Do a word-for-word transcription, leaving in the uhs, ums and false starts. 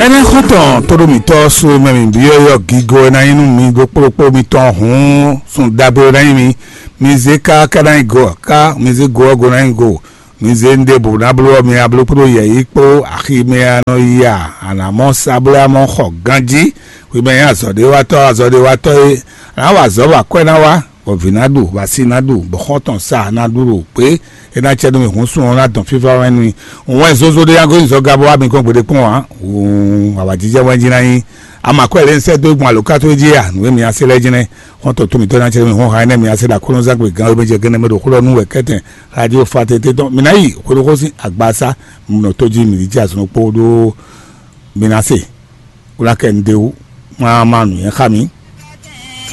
Ɛnɛ xɔ́ntɔn tóɖó mǐtɔn sú mɛ mǐ byɔ́ yɔ gigo e ná nyí nú mi ɖokpóɖokpó mitɔn hǔn sun ɖagbe e ná nyí mi. Mi zé ká ká ná nyí go ká, mi zé go ɔ́ go ná nyí go. Mi zé un ɖěbǔ ná bló ɔ́, mi ná bló kpódó yɛ̌yi kpó axi mɛ a nɔ yi a, a nǎ mɔ sa bló amɔ xɔ ganjí. Hwi mɛ nyí azɔ̌ɖéwatɔ́, azɔ̌ɖéwatɔ́ e a nǎ wa azɔ̌ bɔ akwɛ́ ná wá, bɔ vǐ ná ɖu, bɔ asi ná ɖu, bɔ xɔ́ntɔn sa ná ɖu ɖo gbě. É ná cɛ nú mi hǔn sun ɔ́ ná dɔn fífá wɛ nú mi. Wɛn zozo ɖé ná gosín zɔ gabɔ wá mi gɔ́n gbeɖé kpɔ́n ǎ. Wun awǎjijɛ wɛn jí ná nyí. Ama kwɛ́ lě un sɛ́ dó gbɔn alǒkató jí a, nǔ e mi ná se lɛ́ɛ jɛ́nɛ́. Xɔ́ntɔn tó mǐtɔn ná cɛ nú mi hɔn ha énɛ́ mi ná se ɖo aklúnɔzángbe gán e mɛ jɛ gɛ́nɛ́ mɛ ɖo xó ɖɔ nú wɛ kɛ́tɛn. Radio fa tete tɔn mi ná yi xwedó xó sín agbasá. Mi nɔ tó jí mi ní jí azɔn kpó ɖó mi ná se. Wlá kɛ un ɖe wú. Má má nǔnywɛ́ xá mi.